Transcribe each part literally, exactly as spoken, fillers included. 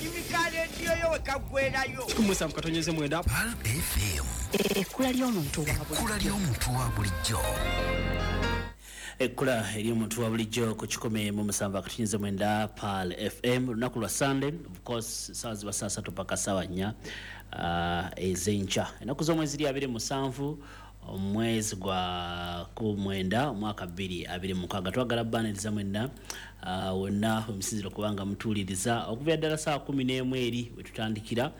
Akayimika leediyo yo we kaggwerayo. Kikumi musanvu katonyeze mwenda. Pearl F M. Ekkula ly'omuntu wa bulijjo. Ekkula ly'omuntu wa bulijjo. Ekkula ery'omuntu wa bulijjo ku kikumi mu musanvu akatunyeze mwenda Pearl F M, lunaku lwa Sunday, of course ssaawa ziba saa ssatu paka ssaawa nnya, uh, ez'enkya. Ennaku z'omwezi ziri abiri musanvu omwezi gwa ku mwenda omwaka bbiri abiri mukaaga. Twagala bbaaniriza mwenna, uh, wonna omusinziro kubanga mutuuliriza okuva ddala ssaawa kumi n'emu eri we tutandikira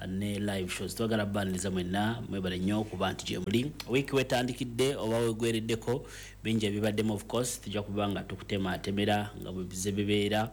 ne live shows. Twagala bbaaniriza mwenna, mwebale nnyo okuba nti gye muli. Wiiki wetandikidde oba wegwereddeko bingi ebibaddemu, of course tujja kuba nga tukutemaatemera nga bwe bize bibeera,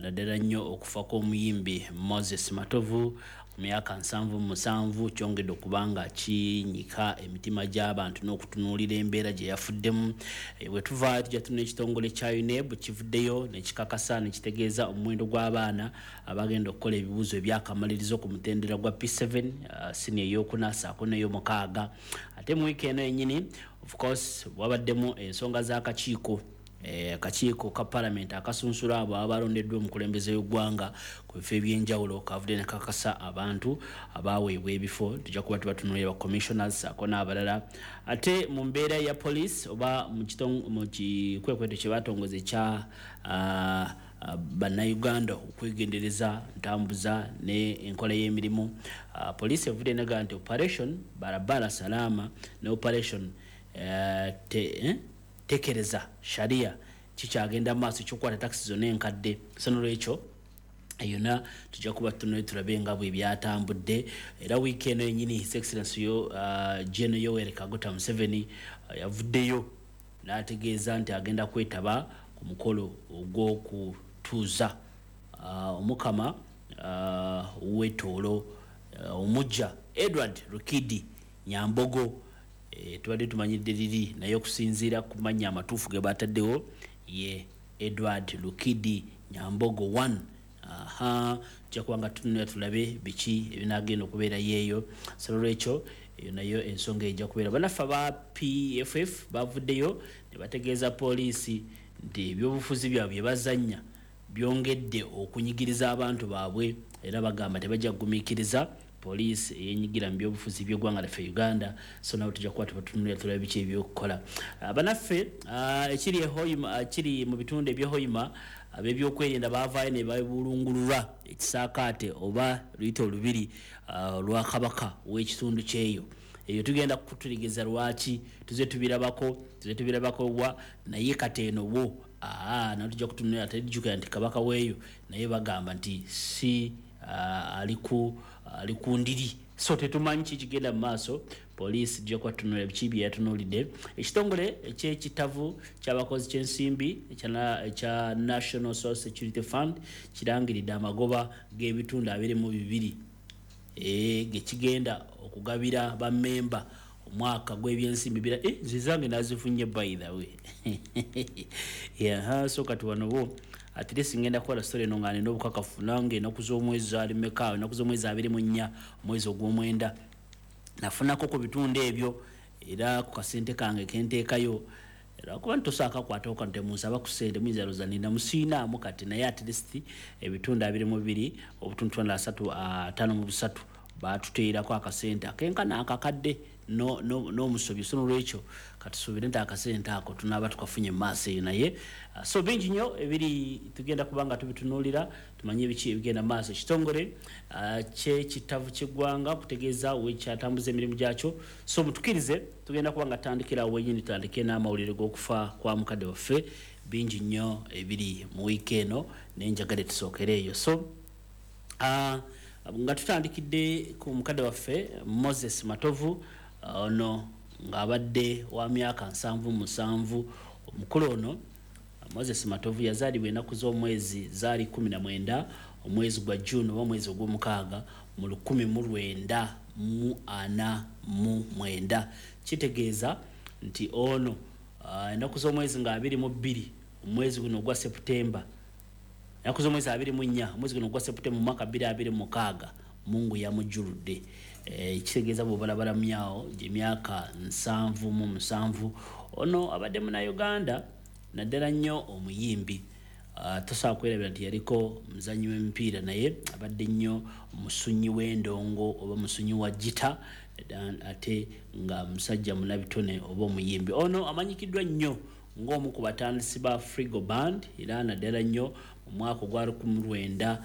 naddala nnyo okufa kw'omuyimbi Moses Matovu ku myaka nsanvu mu musanvu kyongedde okuba nga kinyika emitima gy'abantu n'okutunuulira embeera gye yafuddemu. E, bwe tuva tujja tunula ekitongole kya UNEB kivuddeyo ne kikakasa ne kitegeeza omuwendo gw'abaana abagenda okukola ebibuuzo ebyakamalirizo ku mutendera gwa P seven, uh, siniya ey'okuna ssaako n'ey'omukaaga. Ate mu wiiki eno yennyini, of course, wabaddemu ensonga z'akakiiko, eh, akakiiko ka parliament akasunsula abo abalondeddwa omukulembeze w'eggwanga ku bifo eby'enjawulo kavudde ne kakasa abantu abaweebwa ebifo. Tujja kuba tubatunuulira ba commissioners ssaako n'abalala. Ate mu mbeera ya police oba mu kitong-, mu kikwekweto kye batongoza ekya, ah, ah, bannayuganda okwegendereza ntambuza ne enkola y'emirimu, ah, police evudde negaga nti operation barabara salama ne operation, eh, te, eh, tekereza sharia kikyagenda mu maaso ekyokukwata takisi zonna enkadde. So n'olwekyo yonna tujja kuba tutunule tulabe nga bwe byatambudde. Era wiiki eno yennyini His Excellency yo, uh, General Yoweri Kaguta Museveni, uh, yavuddeyo n'ategeeza nti agenda kwetaba ku mukolo ogw'okutuuza, uh, omukama, uh, w'ettoolo, uh, omujja Edward Rukidi Nyambogo. Eh, tubadde tumanyidde liri, naye okusinziira ku mannya amatuufu ge bataddewo ye Edward Rukidi Nyambogo one. Aha, tujja kuba nga tutunula tulabe biki ebinaagenda okubeera yeeyo. So n'olwekyo eyo nayo ensonga ejja kubeera. Bannaffe aba P F F bavuddeyo ne bategeeza poliisi nti ebyobufuzi byabwe bye bazannya byongedde okunyigiriza abantu baabwe, era bagamba tebajja kugumiikiriza poliisi eyenyigira mu byobufuzi by'eggwanga lyaffe Uganda. So nabo tujja kuba tubatunulira tulabe biki ebyokukola. Bannaffe, ah, ekiri e Hoima, ekiri mu bitundu eby'e Hoima, ab'ebyokwerinda baavaayo ne babulungulula ekisaakaate oba luyite olubiri, ah, lwa kabaka w'ekitundu ky'eyo. Eyo tugenda kututegeeza lwaki tuze tubirabako, tuze tubirabako wa, naye kati eno wo, aa, naye tujja kutunulira, tejjukira nti kabaka w'eyo naye bagamba nti si, ah, ali ku, ali ku ndiri. So tetumanyi ki kigenda mu maaso. Poliisi ejja kuba tutunulira biki bye yatunuulidde. Ekitongole eky'ekitavu ky'abakozi ky'ensimbi ekya, ekya National Social Security Fund kirangiridde amagoba g'ebitundu abiri mu bibiri, eh, ge kigenda okugabira bammemba omwaka gw'ebyensimbi bira. Eh, nze zange nazifunye by the way. Yeah, so kati wano bo at least ngenda kukola story eno nga nina obukakafu nange ennaku z'omwezi zaali mmeka, ennaku z'omwezi abiri mu nnya omwezi ogw'omwenda nafunako ku bitundu ebyo, era ku kasente kange kenteekayo. Era kuba ntosaaka kwatako kano temunsaba ku ssente, muyinza lowooza nina musiinaamu kati, naye at least ebitundu abiri mu bibiri obutundu asatu, ataano mu busatu baatuteerako akasente akenkana akakadde no, no, n'omusobyo. So n'olwekyo katusuubire nti akasente ako tunaaba tukafunye mu maaso eyo. Naye, ah, so bingi nnyo ebiri tugenda kuba nga tubitunuulira tumanye biki ebigenda mu maaso. Ekitongole, ah, ky'ekitavu ky'eggwanga okutegeeza wekyatambuza emirimu gyakyo. So mutukirize tugenda kuba nga tutandikira awo wennyini, tutandike n'amawulire g'okufa kwa mukadde waffe. Bingi nnyo ebiri mu wiiki eno, naye njagala tusookere eyo. So, ah, nga tutandikidde ku mukadde waffe Moses Matovu, ah, ono ng'abadde wa myaka nsanvu musanvu. Omukulu ono Moses Matovu yazaalibwa ennaku z'omwezi zaali kkumi na mwenda omwezi gwa June oba omwezi ogw'omukaaga mu lukumi mu lwenda mu ana mu mwenda. Kitegeeza nti ono, ah, ennaku z'omwezi nga abiri mu bbiri omwezi guno ogwa September, ennaku z'omwezi abiri mu nnya omwezi guno ogwa September mu mwaka bbiri abiri mu mukaaga Mungu yamujjuludde. Eh, kitegeeza bw'obalabala myawo gy'emyaka nsanvu mu musanvu. Ono abadde munnayuganda naddala nnyo omuyimbi. uh, tosobola kwerabira nti yaliko muzannyi w'emipiira, naye abadde nnyo musunyi w'endongo oba musunyi wa gita, ate nga musajja munabitone oba omuyimbi. Ono amanyikiddwa nnyo ng'omu ku batandisi ba Frigo Band, era naddala nnyo mu mwaka ogwa lukumi lwenda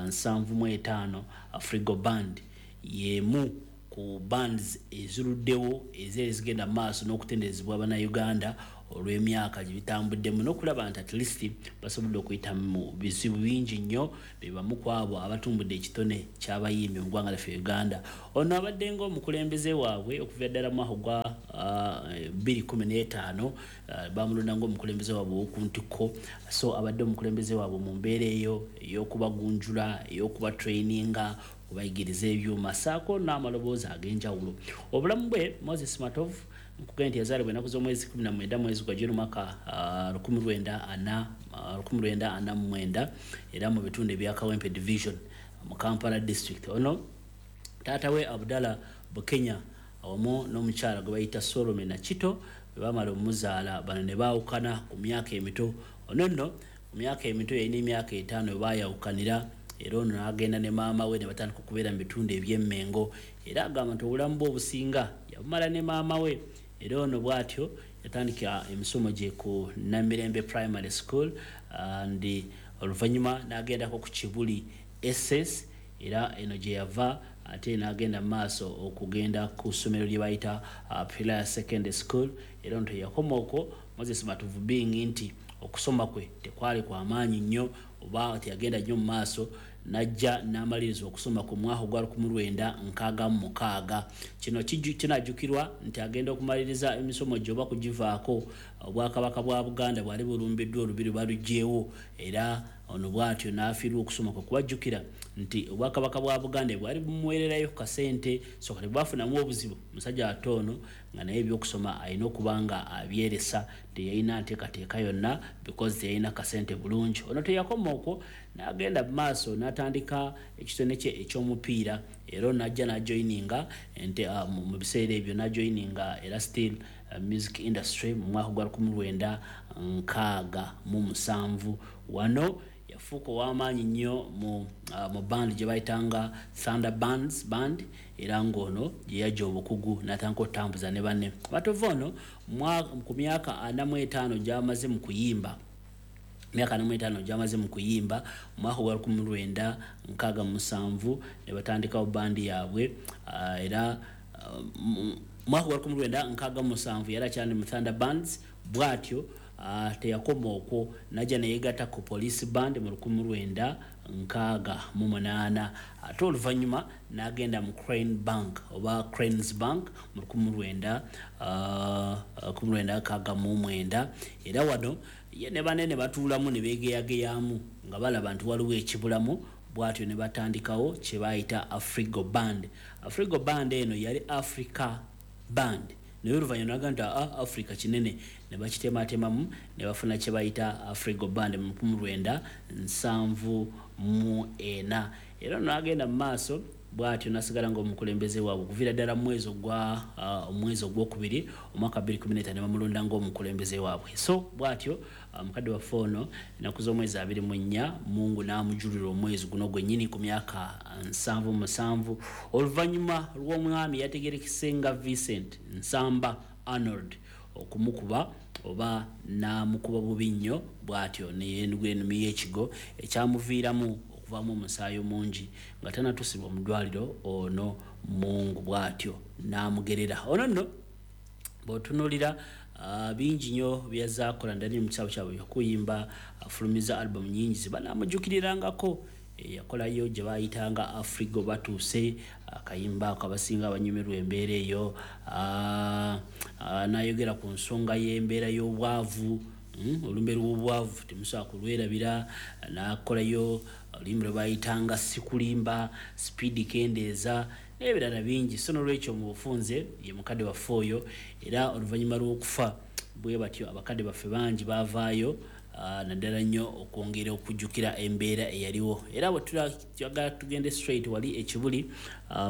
nsanvu mu etaano. Frigo Band y'emu ku bands eziruddewo ezeeri zigenda mu maaso n'okutenderezebwa Bannayuganda olw'emyaka gye bitambuddemu n'okulaba nti at least basobodde okuyita mu bizibu bingi nnyo. Be bamu ku abo abatumbudde ekitone ky'abayimbi mu ggwanga lyaffe Uganda. Ono abadde ng'omukulembeze waabwe okuva ddala mu mwaka gwa bbiri kumi n'etaano, bamulonda ng'omukulembeze waabwe ow'oku ntikko. So abadde omukulembeze waabwe mu mbeera eyo ey'okubagunjula, ey'okubatraininga, okubayigiriza ebyuma ssaako n'amaloboozi ag'enjawulo. Obulamu bwe Moses Matovu nkugambye nti yazaalibwa ennaku z'omwezi kumi na mwenda mwezi gwa June mwaka lukumi lwenda ana lukumi lwenda ana mu mwenda, era mu bitundu ebya Kawempe Division mu Kampala District. Ono taata we Abdallah Bukenya awamu n'omukyala gwe bayita Solome Nakito bwe bamala omuzaala, bano ne baawukana ku myaka emito. Ono nno ku myaka emito yalina emyaka etaano we baayawukanira, era ono n'agenda ne maama we ne batandika okubeera mu bitundu eby'Emmengo, era agamba nti obulamu bwe obusinga yabumala ne maama we. Era ono bw'atyo yatandika emisomo gye ku Namirembe Primary School, and oluvannyuma n'agendako ku Kibuli S S, era eno gye yava ate n'agenda mu maaso okugenda ku ssomero lye bayita Pillar Secondary School. Era ono teyakoma okwo, Moses Matovu being nti okusoma kwe tekwali kwa maanyi nnyo oba teyagenda nnyo mu maaso, najja n'amaliriza okusoma ku mwaka ogwa lukumi lwenda nkaaga mu mukaaga. Kino kinajjukirwa nti agenda okumaliriza emisomo gye oba kugivaako, Obwakabaka bwa Buganda bwali bulumbiddwa olubiri baluggyewo, era ono bw'atyo n'afiirwa okusoma kwe. Kubajjukira nti Obwakabaka bwa Buganda bwali bumuweererayo ku kasente, so kati bwafunamu obuzibu musajja ate ono nga naye ebyokusoma alina okuba nga abyeresa, teyalina nteekateeka yonna because teyalina kasente bulungi. Ono teyakoma okwo, n'agenda mu maaso n'atandika ekitone kye eky'omupiira, era ono n'ajja n'ajoyininga ente mu biseera ebyo n'ajoyininga era still music industry mu mwaka gwa lukumi lwenda nkaaga mu musanvu. Wano yafuuka ow'amaanyi nnyo mu mu band gye bayitanga Thunder Bands Band, era ng'ono gye yajja obukugu n'atandika okutambuza ne banne. Matovu ono ku myaka ana mu etaano gy'amaze mu kuyimba, myaka ana mu etaano gy'amaze mu kuyimba, mu mwaka gwa lukumi lwenda nkaaga mu musanvu ne batandikawo bandi yaabwe, era mwaka gwa lukumi lwenda nkaaga mu musanvu yali akyali mu Thunder Bands. Bw'atyo teyakoma okwo, n'ajja ne yeegatta ku Police Band mu lukumi lwenda nkaaga mu munaana, ate oluvannyuma n'agenda mu Crane Bank oba Cranes Bank mu lukumi lwenda lukumi lwenda nkaaga mu mwenda, era wano ye ne banne ne batuulamu ne beegeyageyamu nga balaba nti waliwo ekibulamu, bw'atyo ne batandikawo kye bayita Afrigo Band. Afrigo Band eno yali Africa Band, naye oluvannyuma n'agamba nti aa Africa kinene, ne bakitematemamu ne bafuna kye bayita Afrigo Band mu lukumi lwenda nsanvu mu ena. Era ono n'agenda mu maaso bw'atyo n'asigala ng'omukulembeze waabwe okuviira ddala mu mwezi ogwa omwezi ogwokubiri omwaka bbiri kumi n'etaano ne bamulonda ng'omukulembeze waabwe. So bw'atyo mukadde waffe ono ennaku z'omwezi abiri mu nnya Mungu n'amujulira omwezi guno gwennyini ku myaka nsanvu musanvu, oluvannyuma lw'omwami yategerekese nga Vincent Nsamba Arnold okumukuba oba n'amukuba bubi nnyo, bw'atyo ne yeenugula ennimi y'ekigo ekyamuviiramu okuvaamu omusaayi omungi nga tannatuusibwa mu ddwaliro. Ono Mungu bw'atyo n'amugerera. Ono nno bw'otunuulira bingi nnyo byazze akola naddala mu kitabo kyabwe okuyimba, afulumiza album nnyingi ze banaamujjukirirangako. Yakolayo gye bayitanga Afrigo Batuuse, akayimba ako abasinga abanyumirwa embeera eyo, n'ayogera ku nsonga y'embeera y'obwavu, olumbe lw'obwavu temusobola kulwerabira, n'akolayo oluyimba lwe bayitanga Sikulimba, Speed Kendeeza n'ebirala bingi. So n'olwekyo mu bufunze ye mukadde waffe oyo, era oluvannyuma lw'okufa bwe batyo abakadde baffe bangi baavaayo naddala nnyo okwongera okujjukira embeera eyaliwo. Era bwe twagala tugende straight wali ekibuli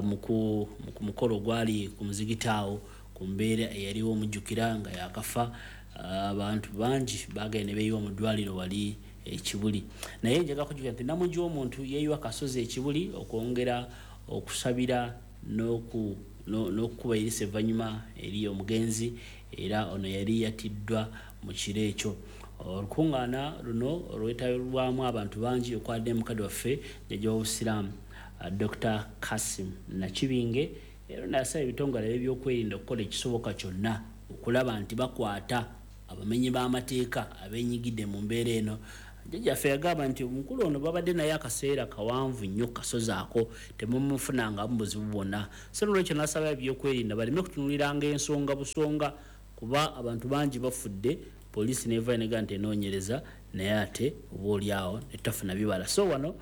mu ku mukolo ogwali ku muzigiti awo ku mbeera eyaliwo, omujjukira nga yakafa, abantu bangi bagenda ne beeyiwa mu ddwaliro wali Ekibuli. Naye njagala kujjukira nti namungi w'omuntu yeeyiwa Kasozi Ekibuli okwongera okusabira n'oku n'okukuba erisa evvannyuma eri omugenzi, era ono yali yatiddwa mu kiro ekyo. Olukuŋŋaana luno olwetabirwamu abantu bangi okwadde mukadde waffe jjajja w'obusiraamu Doctor Kasim Nakibinge, era n'asaba ebitongole ebyokwerinda okukola ekisoboka kyonna okulaba nti bakwata abamenyi b'amateeka abeenyigidde mu mbeera eno. Jjajjaffe yagamba nti omukulu ono babadde naye akaseera kawanvu nnyo kasozi ako, temumufunangamu buzibu bwonna. So nolwekyo n'asaba ebyokwerinda baleme kutunuuliranga ensonga busonga, kuba abantu bangi bafudde, poliisi n'evaayo n'egamba nti enoonyereza, naye ate oba oliawo netafuna bibala. So wano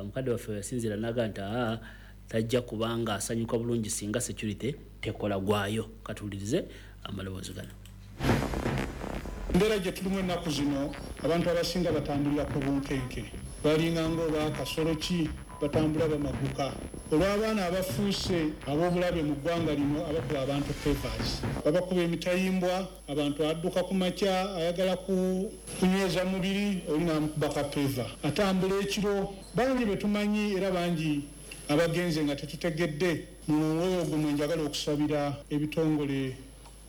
mukadde waffe yasinziira n'agamba nti aa tajja kubanga asanyuka bulungi singa security tekola gwayo. Katuwulirize amaloboozi gano. Embeera gye tulimu ennaku zino, abantu abasinga batambulira ku bunkenke, balinga ng'oba kasolo ki, batambula bamaguka olw'abaana abafuuse ab'obulabe mu ggwanga lino abakuba abantu favors, babakuba emitayimbwa, abantu adduka ku makya ayagala kunyweza mubiri, oli n'amukuba ka favor, atambula ekiro. Bangi be tumanyi era bangi abagenze nga tetutegedde. Mu mwoyo ogwo mwe njagala okusabira ebitongole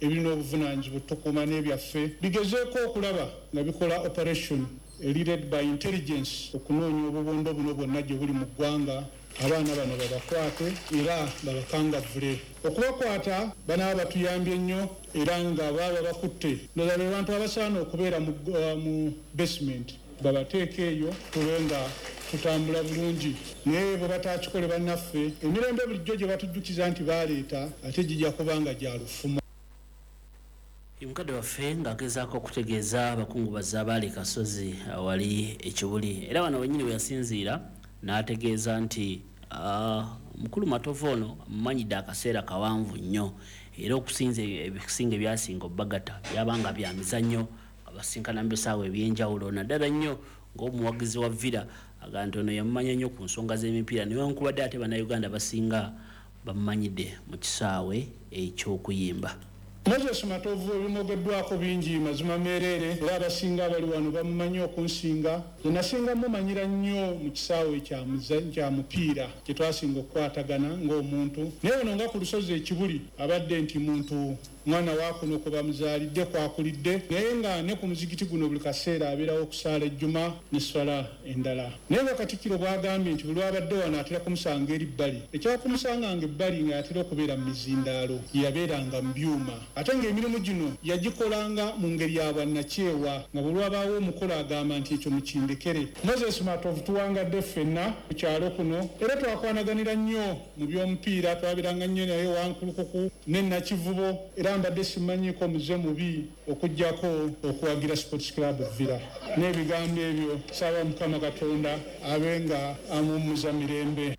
ebirina obuvunaanyizibwa otukuuma n'ebyaffe bigezeeko okulaba nga bikola operation led by intelligence okunoonya obubondo buno bwonna gye buli mu ggwanga. Abaana bano babakwate era babakangavvule. Okubakwata banaaba batuyambye nnyo, era nga baba bakutte ndowooza be bantu abasaana okubeera mu basement, babateeke eyo tube nga tutambula bulungi. Naye bwe batakikole bannaffe, emirembe bulijjo gye batujjukiza nti baleeta ate gijja kuba nga gya lufumo. Mukadde waffe ng'agezaako okutegeeza abakungubazi abaali Kasozi awali Ekibuli, era wano wennyini we yasinziira n'ategeeza nti mukulu Matovu ono amumanyidde akaseera kawanvu nnyo, era okusinza ebisinga ebyasinga obbagata byabanga bya mizannyo, nga basinkana mu bisaawe ebyenjawulo, naddala nnyo ng'omuwagizi wa Villa agamba nti ono yamumanya nnyo ku nsonga z'emipiira, newankubadde ate Bannayuganda basinga bamumanyidde mu kisaawe eky'okuyimba. Moses Matovu ebimwogeddwako bingi mazima meereere, era abasinga abali wano bamumanyi okunsinga. Nze nasinga mumanyira nnyo mu kisaawe kya mupiira kye twasinga okukwatagana ng'omuntu, naye ono nga ku lusozi Ekibuli abadde nti muntu mwana wa kuno kwe bamuzaalidde kwakulidde, naye nga ne ku muzikiti guno buli kaseera abeerawo okusaala ejjuma n'esswala endala. Naye nga Katikkiro bw'agambye nti buli lw'abadde wano atera kumusanga eri bbali, ekyakumusanganga ebbali ng'atera okubeera mu mizindaalo, yabeeranga mu byuma, ate ng'emirimu gino yagikolanga mu ngeri ya bwannakyewa, nga bwe lwabaawo omukolo agamba nti ekyo mukindekere. Moses Matovu tuwangadde ffenna ku kyalo kuno, era twakwanaganira nnyo mu by'omupiira, twabiranga nnyo naye Wankulukuku ne Nakivubo, era mbadde simanyiiko muze mubi okuggyako okuwagira Sports Club Villa. N'ebigambo ebyo saba Mukama Katonda abe nga amuwummuza mirembe.